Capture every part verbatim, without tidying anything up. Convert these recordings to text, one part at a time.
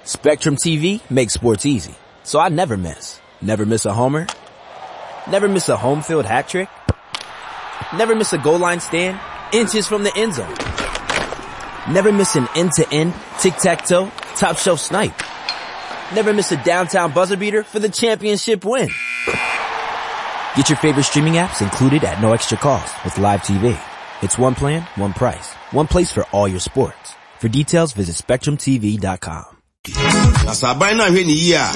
Spectrum T V makes sports easy, so I never miss. Never miss a homer. Never miss a home field hat trick. Never miss a goal line stand, inches from the end zone. Never miss an end-to-end, tic-tac-toe, top shelf snipe. Never miss a downtown buzzer beater for the championship win. Get your favorite streaming apps included at no extra cost with Live T V. It's one plan, one price, one place for all your sports. For details, visit Spectrum T V dot com. Na sɛ aban no ahwɛ ne yie a,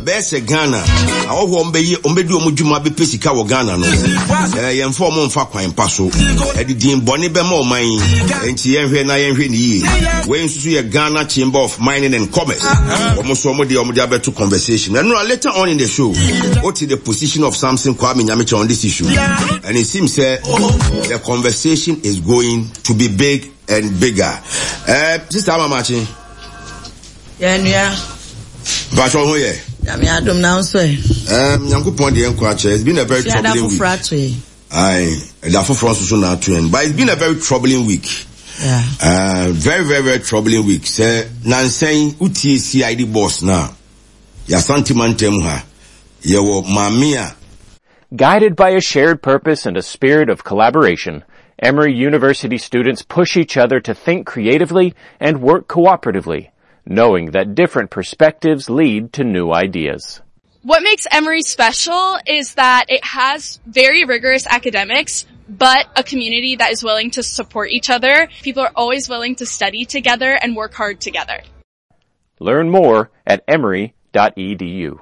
bɛyɛ sɛ Ghana ahɔhoɔ ɔmbɛyɛ, ɔmbɛdi ɔmo dwuma bɛpɛ sika wɔ Ghana no, ɛɛ yɛmfa ɔmo mfa kwan pa so, ɛde din bɔne bɛma ɔman yi. Nti yɛnhwɛ na yɛnhwɛ ne yie. Wei nso so yɛ Ghana Chamber of Mining and Commerce, ɔmo so ɔmo deɛ ɔmo de abɛto conversation. Ɛno later on in the show, what is the position of Samson Kwame Nyamekye on this issue? And it seems uh, the conversation is going to be big and bigger. uh, sister Amamachi. Yɛnua. Mpatwɔ ho yɛ? Nyame adom, na nso ɛ? Um, nyankopɔn deɛ nkɔ akyɛ. It's been a very Fiada troubling week. Foforɔ ato yɛ. Aye, ɛda foforɔ nso so na ato yɛn, but it's been a very troubling week. Yeah. Uh, very very very troubling week sɛ nansɛn wotie C I D boss na yɛasante mantam ha, yɛwɔ maame a Guided by a shared purpose and a spirit of collaboration, Emory University students push each other to think creatively and work cooperatively, knowing that different perspectives lead to new ideas. What makes Emory special is that it has very rigorous academics, but a community that is willing to support each other. People are always willing to study together and work hard together. Learn more at emory dot E D U.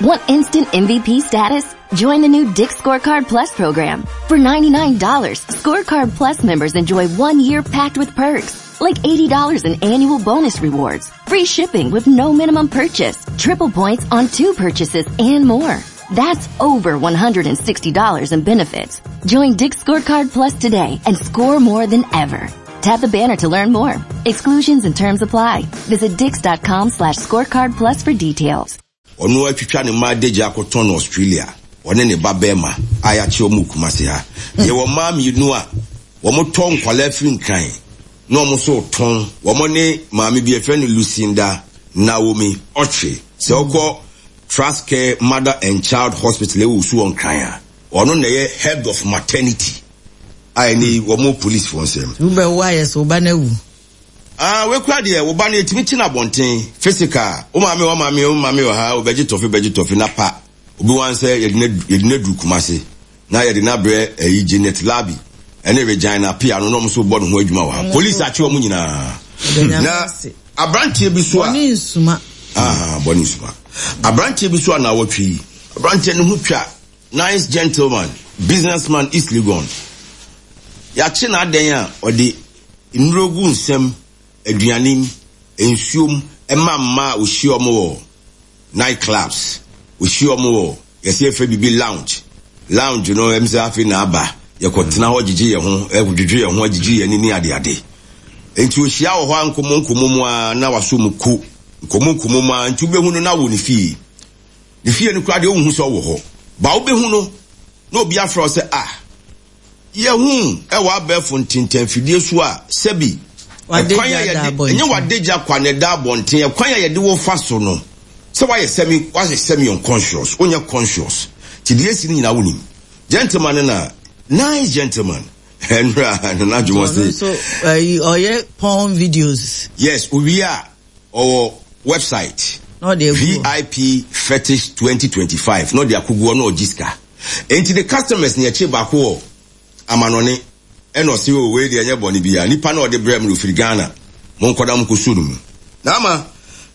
Want instant M V P status? Join the new Dick's Scorecard Plus program. For ninety-nine dollars, Scorecard Plus members enjoy one year packed with perks, like eighty dollars in annual bonus rewards, free shipping with no minimum purchase, triple points on two purchases, and more. That's over one hundred sixty dollars in benefits. Join Dick's Scorecard Plus today and score more than ever. Tap the banner to learn more. Exclusions and terms apply. Visit dicks dot com slash scorecard plus for details. Ɔno atwitwa ne mma adagya akɔtɔn no Australia, ɔne ne ba bɛrima a yɛakye ɔmo Kumase ha. Yɛwɔ mmaa mmienu a wɔn tɔ nkwalaa firi Nkran na wɔn nso tɔn. Wɔn ne maame bi yɛfrɛ no Lucinda Naomi Ɔtwe. Sɛ ɔkɔ Trust Care Mother and Child Hospital ɛwɔ Osu wɔ Nkran a, ɔno na ɛyɛ head of maternity a ɛne wɔn police foɔ nsɛm. Wobɛwo ayɛ sɛ woba no awu. Ah, wekura deɛ wo ba no yɛtumi kyi no abɔnten physical. Wo maame, wo maame, wo maame wɔ ha, wobɛgye tɔfe, bɛgye tɔfe na pa obi wan sɛ yɛde no yɛde no aduru Kumase na yɛde no abrɛ ɛyi Janet Labi ɛne Regina Pia no na ɔmo nso bɔ ne ho adwuma wɔ ha. Police akye wɔn nyinaa na aberanteɛ bi so a Bɔne nsuma. Ah, bɔne nsuma. Aberanteɛ bi so a na awɔtwe yi, aberanteɛ ne ho twa, nice gentleman, businessman, East Legon. Yɛakye n'adan a ɔde nnuro gu nsɛm, aduane mu, nsuom, ɛma mmaa a ohyia ɔmo wɔ night clubs, ohyia ɔmo wɔ yɛsɛ yɛfrɛ bibi lounge. Lounge no ɛm sɛ afei na aba, yɛkɔtena hɔ gyegye yɛn ho, ɛdwedwe yɛn ho, agyegye yɛn ani ne adeade. Nti ohyia wɔ hɔ a, nkɔmmɔ nkɔmmɔ mu a na waso mu ko nkɔmmɔ nkɔmmɔ mu a, nti wobɛhu no na wɔ ne fie. Ne fie no koraa deɛ, wohu sɛ ɔwɔ hɔ ba, wobɛhu no na obi afrɛ wo sɛ, "Ah, yɛhu ɛwɔ abɛɛfo ntentanfidie so a sɛbi Wadagya ɛkwan a da yɛde abɔnten. Ɛnyɛ wadagya kwa na ɛda abɔnten. Ɛkwan a yɛde wo fa so no sɛ wayɛ semi wayɛ semi unconscious, wonyɛ conscious, ti deɛ esi no nyinaa wonim." Gentleman no na nice gentleman ɛnura nana adwuma Ɔno se nso ɛyi, ɔyɛ porn videos. Yes, owie a ɔwɔ website. Na ɔde agu hɔ. V I P Fetish twenty twenty-five na ɔde akogu hɔ na ɔgye sika. Nti the customers ne yɛkye baako wɔ amanɔne ɛna ɔse, "O, wei deɛ ɛnyɛ bɔne bia, nipa na ɔde brɛ mu no ofiri Ghana, monkɔda mo nkɔsuo no mu." Na ama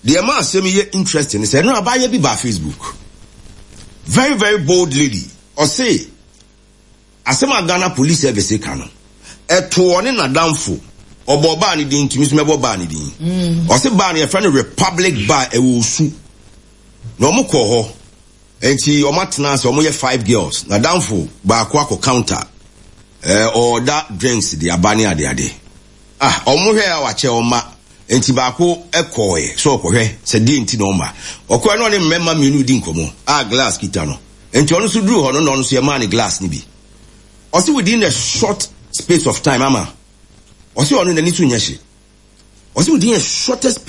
deɛ ma asɛm yi yɛ interesting sɛ ɛno abaayɛ bi baa Facebook, very very bold lady, ɔse asɛm a Ghana Police Service ka no ɛto ɔne n'adamfo. Ɔbɔ ɔbaa ne din, ntumi so mɛbɔ baa ne din. Ɔse baa no yɛfrɛ no Republic Bar, ɛwɔ Osu, na ɔmo kɔ hɔ. Nti ɔmo atena ase, ɔmo yɛ five girls. N'adamfo baako akɔ counter, ɛɛ ɔɔda drinks de aba ne adeade. Ah, ɔmo hwɛ a wakyɛ ɔma, nti baako ɛkɔɔɛ sɛ ɔkɔhwɛ sɛ deɛ nti na ɔma ɔkɔɛ na ɔne mmarima mmienu di nkɔmɔ a glass kita no. Nti ɔno nso duru hɔ no na ɔno nso yɛmaa ne glass ne bi. Ɔsi within a short space of time, ama ɔsi ɔno n'ani so nyɛ hye. Ɔsi within a shortest